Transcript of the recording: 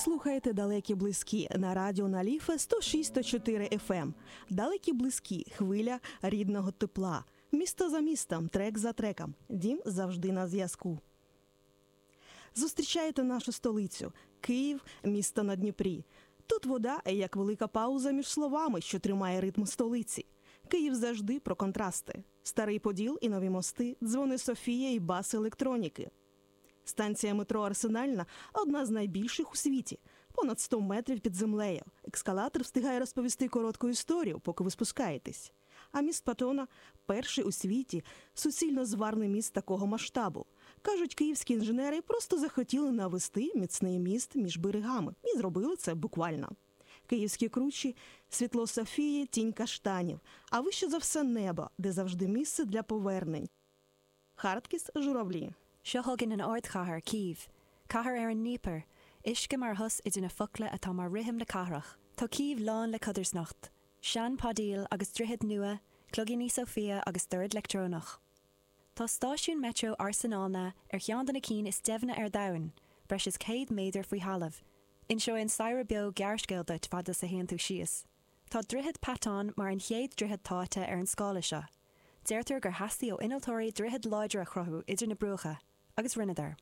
Слухаєте Далекі близькі на радіо Наліфе 106.4 FM. Далекі близькі, хвиля рідного тепла. Місто за містом, трек за треком. Дім завжди на зв'язку. Зустрічаєте нашу столицю Київ, місто на Дніпрі. Тут вода як велика пауза між словами, що тримає ритм столиці. Київ завжди про контрасти: старий Поділ і нові мости, дзвони Софія і бас електроніки. Станція метро Арсенальна одна з найбільших у світі, понад 100 метрів під землею. Ескалатор встигає розповісти коротку історію, поки ви спускаєтесь. А міст Патона перший у світі суцільно зварний міст такого масштабу. Кажуть, київські інженери просто захотіли навести міцний міст між берегами і зробили це буквально. Київські кручі, світло Софії, тінь каштанів, а вище за все небо, де завжди місце для повернень. Хардкіс журавлі. Seo chugainn an ardchathair, Cív. Cathair ar an Dnieper. Uisce mar shos idir na focla atá mar rithim na cathrach. Tá Cív lán le codarsnacht. Sean Podil agus droichead nua, cloigíní Sophia agus dord leictreonach. Tá stáisiún Metro Arsenalna ar cheann de na cinn is doimhne ar domhan, breis is 100 méadar faoi thalamh. Inseoidh an staighre beo gearrscéal duit fad is a théann tú síos. Tá Droichead Patton mar an chéad droichead táite ar an scála seo. Deirtear gur theastaigh ó innealtóirí droichead láidir a chruthú idir na bruacha, agus rinneadar.